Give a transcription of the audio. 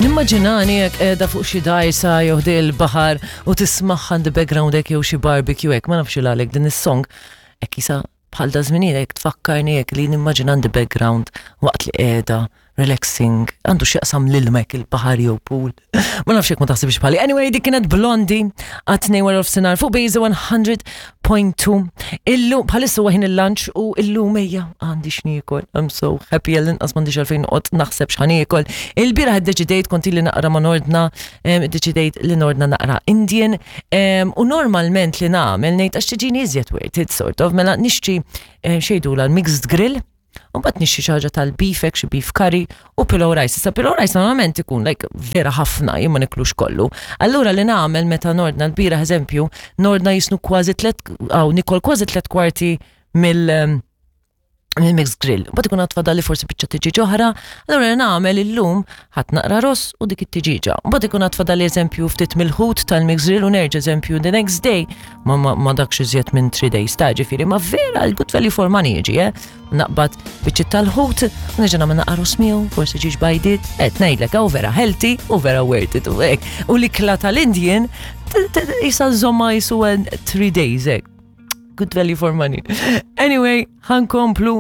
Nimmaġinani jekk qiegħda fuq xi dajsa jew ħdej il-baħar u tismagħha in the background hekk jew xi barbecue hekk, ma nafx il għalek din is-song hekk jisa bħal da żminijiet hekk tfakkarni hekk li nimmaġina in the background waqt li qiegħda relaxing, għandu x'jaqsam l-ilma hekk il-baħar jew pool. Ma nafx jekk ma taħsibx bħali. Anyway, dik kienet Blondie għat-tnejn wara nofsinhar fuq Bejza 100.2. Illum bħalissa huwa ħin il-lunch u illum ejja għandi x'niekol. I'm so happy għall-inqas m'għandix għalfejn noqgħod naħseb x'ħa niekol. Il-bieraħ iddeċidejt kont ili naqra ma nordna, iddeċidejt li nordna naqra Indian u normalment li nagħmel ngħid għax tiġini iżjed worth it sort of mela nixtri xejdula l-mixed grill. U mbagħad nixtri xi ħaġa tal-beef hekk xi beef curry u pillow rice. Issa pillow rice normalment ikun like vera ħafna jien ma niklux kollu. Allura li nagħmel meta nordna l-bieraħ eżempju, nordna jisnu kważi tliet aw nikol kważi tliet kwarti mill mill-mixed grill. Mbagħad ikun għad fadalli forsi biċċa tiġiġ oħra, allura li nagħmel illum ħadd naqra ross u dik it-tiġiġa. Mbagħad ikun għad fadalli eżempju ftit mill-ħut tal-mixed grill u nerġa' eżempju the next day ma, ma, ma dakx iżjed minn 3 days ta' ġifieri, ma vera l-good value for money jiġi, eh? Naqbad biċċiet tal-ħut, u nerġa' nagħmel naqra ross miegħu, forsi ġiex bajdiet, qed ngħidlek hawn vera healthy u vera worth it u hekk. U l-ikla tal-Indian jisa żomma jisu 3 days hekk. Good value for money. Anyway, ħankomplu.